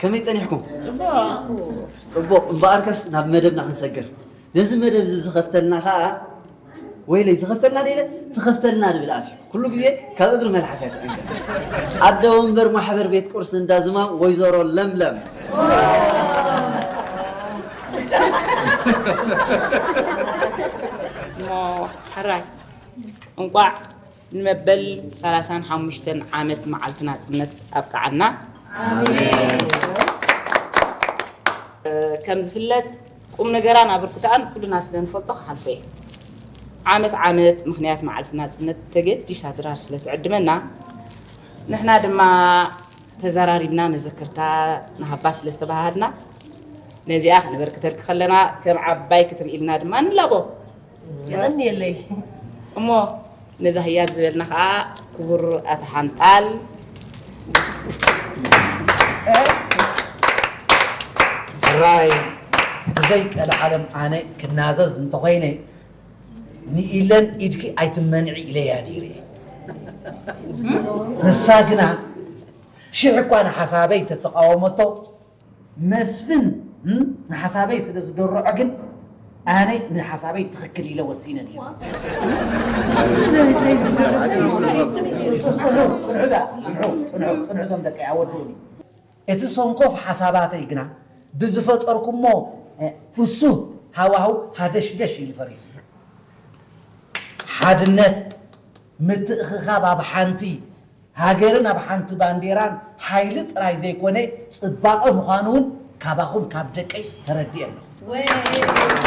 ከመይ ጸኒሕኩም? ጽቡቕ። እምበኣርከስ ናብ መደብና ክንሰግር። ነዚ መደብ እዚ ዝኸፍተልና ኸኣ፣ ወይለይ፣ ዝኸፍተልና ደይለ፣ ትኸፍተልና ንብል ኣፍ እዩ። ኩሉ ግዜ ካብ እግሪ መልሓስ እያ ትዕንገር። ኣደ ወንበር ማሕበር ቤት ቁርሲ እንዳ ዝማም ወይዘሮ ለምለም። እሞ ሕራይ እንቋዕ ንመበል ሰላሳን ሓሙሽተን ዓመት መዓልቲ ናጽነት ኣብቅዓና። ከም ዝፍለጥ ቁም ነገራን ኣበርክቶኣን ኩልና ስለ ንፈልጦ ክሓልፎ እየ። ዓመት ዓመት ምኽንያት መዓልቲ ናጽነት ተገዲሳ ድራር ስለ ትዕድመና ንሕና ድማ ተዘራሪብና መዘክርታ ንሃባ ስለ ዝተባሃሃድና ነዚኣ ክነበርክተልኪ ከለና ከም ዓባይ ክትርኢ ኢልና ድማ ንላቦ። የቐንየለይ። እሞ ነዛ ህያብ ዝበልና ኸኣ ክቡር ኣቶ ሓንጣል። ራይ ብዘይ ቀልዓለም ኣነ ክናዘዝ እንተኾይነ ንኢለን ኢድኪ ኣይትመንዒ ኢለያ ነይረ። ንሳ ግና ሽሕ እኳ ንሓሳበይ ተተቃወመቶ መስፍን ንሓሳበይ ስለ ዝደርዖ ግን ኣነ ንሓሳበይ ትኽክል ኢለ ወሲነ ነይረ። ጽንሑ እዞም ደቀይ ኣወድኡኒ። እቲ ሰንኮፍ ሓሳባተይ ግና ብዝፈጠርኩሞ ፍሱህ ሃዋህው ሃደሽደሽ ኢሉ ፈሪሱ። ሓድነት ምትእኽኻብ ኣብ ሓንቲ ሃገርን ኣብ ሓንቲ ባንዴራን ሓይሊ ጥራይ ዘይኮነ ጽባቐ ምዃኑ እውን ካባኹም ካብ ደቀይ ተረዲኤ ኣለኹ።